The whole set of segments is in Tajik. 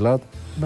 миллат,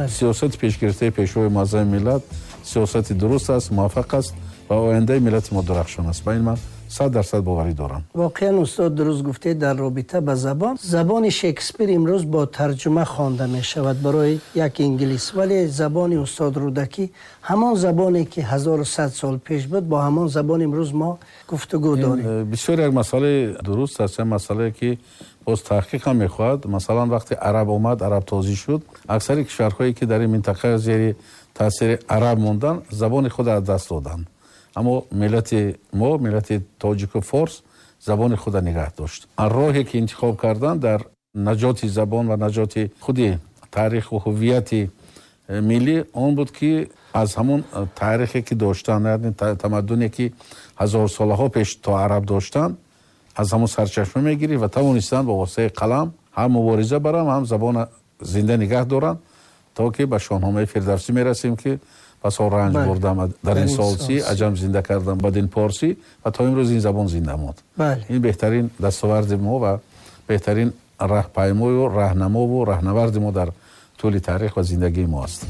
сиёсати пешгирифтаи Пешвои муаззами миллат сиёсати дуруст аст, муваффақ аст ва ояндаи миллати мо дурахшон аст. Ба ин ман 100% боварӣ дорам. Воқеан, устод, дуруст гуфтед дар робита ба забон. Забони Шекспир имрӯз бо тарҷума хонда мешавад барои як инглис, вале забони устод Рӯдакӣ ҳамон забоне ки 1100 сол пеш буд, бо ҳамон забон имрӯз мо гуфтугӯ дорем. Бисёр як масъалаи дуруст аст, як масъалае ки боз таҳқиқ ҳам мехоҳад. Масалан, вақте араб омад, араб тозӣ шуд, аксари кишварҳое ки дар ин минтақа зери таъсири араб монданд, забони худро аз даст доданд. Аммо миллати мо, миллати тоҷику форс, забони худро нигаҳ дошт. Роҳе ки интихоб карданд дар наҷоти забон ва наҷоти худи таъриху ҳуввияти миллӣ он буд, ки аз ҳамон таърихе ки доштанд, яъне тамаддуне ки ҳазорсолаҳо пеш то араб доштанд, аз ҳамон сарчашма мегирифт ва тавонистанд бо воситаи қалам ҳам мубориза баранд, ҳам забона зинда нигаҳ доранд, то ки ба Шоҳномаи Фирдавсӣ мерасем, ки пасо ранҷ бурдам дар ин солсӣ, аҷам зинда кардам бадин порсӣ, ва то имрӯз ин забон зинда монд. Ин беҳтарин дастоварди мо ва беҳтарин раҳпаймою раҳнамову раҳнаварди мо дар тӯли таърих ва зиндагии мо аст.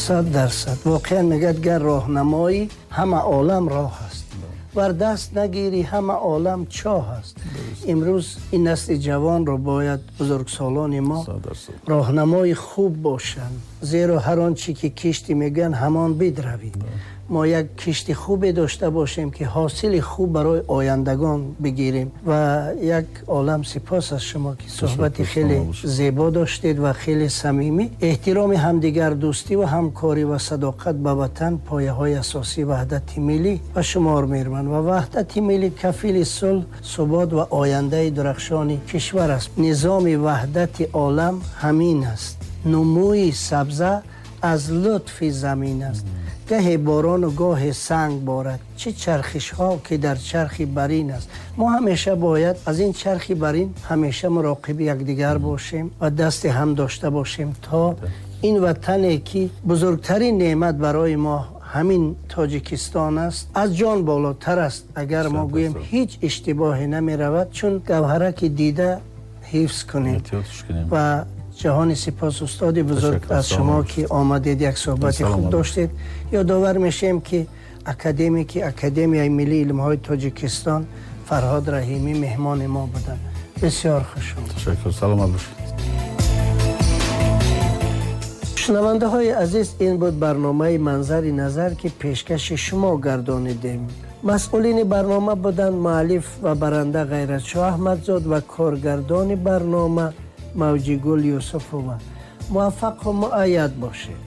100%. Воқеан мегӯяд, гар роҳнамоӣ ҳама олам роҳ аст, вар даст нагирӣ ҳама олам чоҳ аст. Имрӯз ин насли ҷавонро бояд бузургсолони мо роҳнамои хуб бошанд, зеро ҳар он чӣ ки кишти мегӯянд ҳамон бидравӣ. Мо як кишти хубе дошта бошем, ки ҳосили хуб барои ояндагон бигирем. Ва як олам сипос аз шумо, ки суҳбати хеле зебо доштед ва хеле самимӣ. Эҳтироми ҳамдигар, дӯстӣ ва ҳамкорӣ ва садоқат ба ватан пояҳои асосии ваҳдати миллӣ ба шумор мераванд ва ваҳдати миллӣ кафили сулҳ, субот ва ояндаи дурахшони кишвар аст. Низоми ваҳдати олам ҳамин аст. Нумӯи сабза аз лутфи замин аст. Гаҳе борону гоҳе санг борад, чӣ чархишҳо ки дар чархи барин аст. Мо ҳамеша бояд аз ин чархи барин ҳамеша муроқиби якдигар бошем ва дасти ҳам дошта бошем, то ин ватане ки бузургтарин неъмат барои мо ҳамин Тоҷикистон аст, аз ҷон болотар аст. Агар мо гӯем, ҳеҷ иштибоҳе намеравад, чун гавҳараки дида ҳифз кунем. Ва ҷаҳони сипос, устоди бузург, аз шумо ки омадед, як суҳбати хуб доштед. Ёдовар мешавем, ки академики Академияи миллии илмҳои Тоҷикистон Фарҳод Раҳимӣ меҳмони мо буданд. Бисёр хуш омадед. Ташаккур, саломат бошед. Шунавандаҳои азиз, ин буд барномаи Манзари назар, ки пешкаши шумо гардонидем. Масъулини барнома буданд муаллиф ва баранда Ғайратшоҳ Аҳмадзод ва коргардони барнома Мавҷигул Юсуфова. Муваффақу муайяд бошед.